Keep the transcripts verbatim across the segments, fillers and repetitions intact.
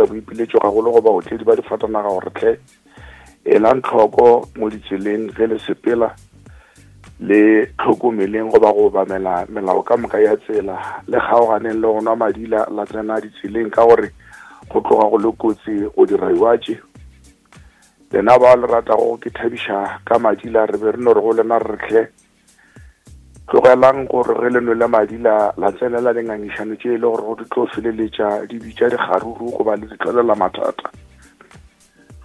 dira boipiletšo gagolo go baotledi ba difatanaga gore tlhe elang tlhoko mo ditseleng ge le sepela, le tlhokomeleng goba go obamela melao ka moka ya tsela, le kgaoganeng le go nwa madila la tsena ditseleng ka gore go tloga go le kotsi go dira iwatše. Lena ba le ratago ke thabiša ka madila, re be re no re go lena re tlhe tlogelang gore ge le nwele madila la tsenela dingangišano tše e le gore go di tlo feleletša di bitša dikgaruru goba le di tlolela mathata.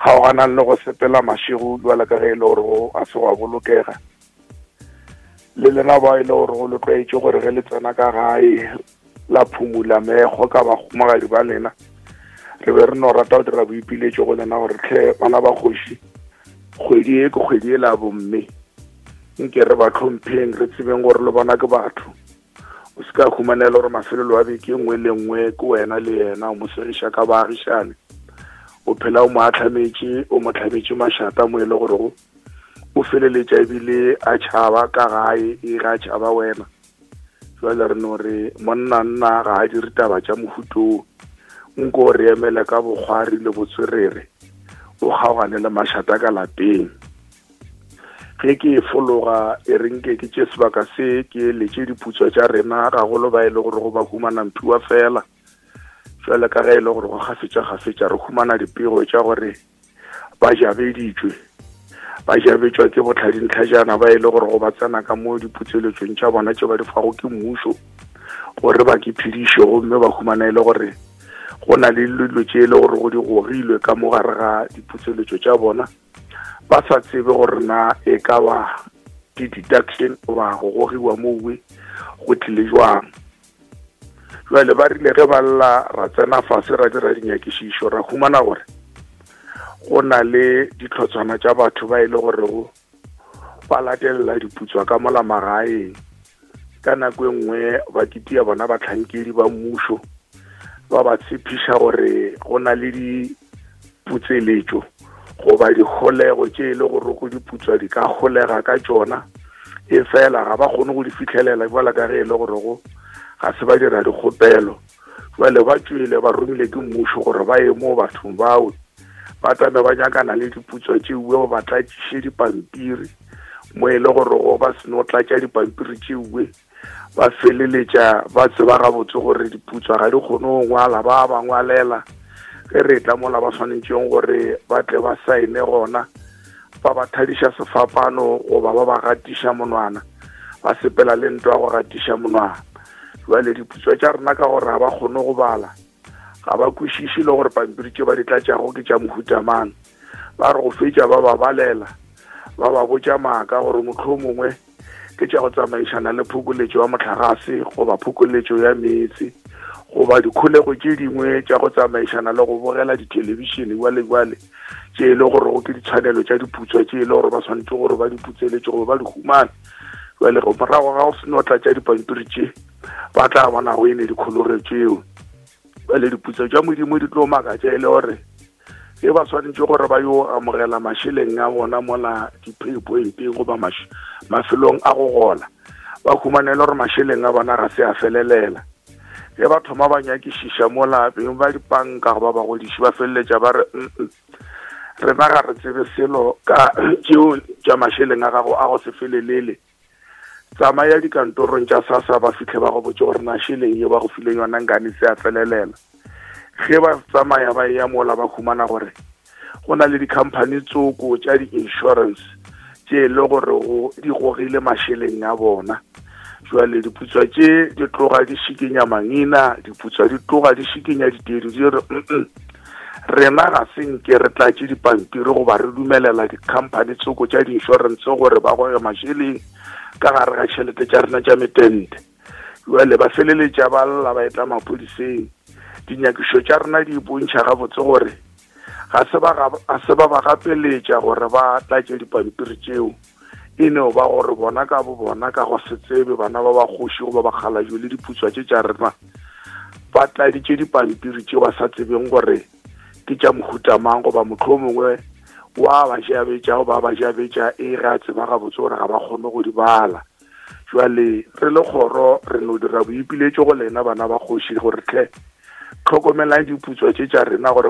Kgaoganang le go sepela mašego jwalo ka ge e le gore go a se gwa bolokega. Le lena ba e le gore go le tlwaetše gore ge le tsena ka gae la phumula meekgo ka bahumagadi ba lena, re be re no rata go dira boipiletšo go lena gore tlhe bana ba kgoši, kgwedi e ke kgwedi e la bomme, nke re ba tlhompheng, re tsebeng gore le bona ke batho. O se ka humanela gore mafelelo a beke nngwe le nngwe ke wena le yena o mo segiša ka baagišane, o phela o mo ahlametše, o mo hlametše mašata mo e le gore go o feleletša ebile a tšhaba ka gae, e ga tšhaba wena. Jwale re no re monna nna ga a dire taba tša mohuto, nko re emele ka bokgwari le botswerere, o kgaogane le mašata ka lapeng. Ge ke e fologa e re nke ke tše sebaka se ke eletše diputswa tša rena gagolo ba e le gore go ba humana mphiwa fela. Jwale ka ge e le gore go kgafetša-kgafetša re humana dipego tša gore ba jabeditšwe, ba jabetšwa ke botlhadintlhajana ba e le gore go ba tsena ka mo diputseletšong tša bona tše ba di fago ke mmušo gore ba ke phediše, gomme ba humana e le gore go na le dilo tše e le gore go di gogilwe ka mo gare ga diputseletšo tša bona, ba sa tsebe gore na e ka ba di-deduction goba go gogiwa mowe go tlile jwang. Jwale ba rile ge ba lla ra tsena fase ra dira dinyakišišo, ra humana gore go na le ditlhotshwana tša batho ba e le gorego ba latelela diputswa ka mola magaeng. Ka nako e nngwe ba kitia bona bahlankedi ba mmušo ba ba tshepiša gore go na le diputseletšo goba dikgolego tše e le gore go diputswa di ka kgolega ka tšona, e fela ga ba kgone go di fihlelela jwalo ka ge e le gore go ga se ba dira dikgopelo. Jwale ba tšwele ba romile ke mmušo gore ba ye mo bathong bao ba tame ba nyakana le diputswa tšeue, ba tlatšiše dipampiri mo e le gore go ba seno tlatša dipampiri tšeue ba feleletša ba tseba gabotse gore diputswa ga di kgone go ngwala, ba ba ngwalela ge re tla mola ba swanetšeng gore ba tle ba saene gona, ba ba thadiša sefapano goba ba ba gatiša monwana, ba sepela le ntwa go gatiša monwana. Jwale diputswa tša rena ka gore ga ba kgone go bala, ga ba kwešiše le gore pampiri tše ba di tlatšago ke tša mohuta mang, ba re go fetša ba ba balela, ba ba botša maaka gore mohlomongwe ke tša go tsamaišana le phokoletšo ya mohlagase goba phokoletšo ya meetse goba dikholego tše dingwe tša go tsamaišana le go bogela dithelebišene jwale jwale, tše e le gore go ke ditshwanelo tša diputswa tše e le gore ba swanetše gore ba di putseletše goba ba di humane. Jwale go morago ga go seno tlatša dipampiri tše ba tla bona go ene dikholego tšeo. Jwale diputso tša Modimo di tlo makatša e le gore ge ba swanetše gore ba yo amogela mašeleng a bona mola di-pay pointeng goba mafelong a go gola, ba humanele gore mašeleng a bona ga se a felelela. Ge ba thoma ba nyakišiša mola beng ba dipanka goba bagodiši ba feleletša ba re rena ga re tsebe selo ka tšeo tša mašeleng a gago a go se felelele. Tsamaya dikantorong tša SASSA ba fihle ba go botše gore mašeleng ye ba go fileng yona nkane se a felelela. Ge ba tsamaya ba ya mola ba humana gore go na le di-company tsoko tša di-insurance tše e le gore go di gogile mašeleng a bona. Jwale diputswa tše di tloga di šikinya mangina, diputswa di tloga di šikinya ditedu, di re rena ga se nke re tlatše dipampiri goba re dumelela di-company tsoko tša di-insurance gore ba goge mašeleng ka gare ga tšhelete tša rena tša metente. Jwale ba feleletša ba lla ba etla maphodiseng. Dinyakišo tša rena di bontšha gabotse gore ga se ba ga se ba ba gapeletša gore ba tlatše dipampiri tšeo, e no ba gore bona ka bo bona ka go se tsebe bana ba ba kgoši goba bakgalajwe le diputswa tše tša rena ba tladitše dipampiri tšeo ba sa tsebeng gore ke tša mohuta mang, goba mohlomongwe wa ba jabetša goba ba jabetša e ga tseba gabotse gore ga ba kgone go di bala. Jwale re le kgoro re no dira boipiletšo go lena bana ba kgoši gore tlhe tlhokomelang diputswa tše tša rena gore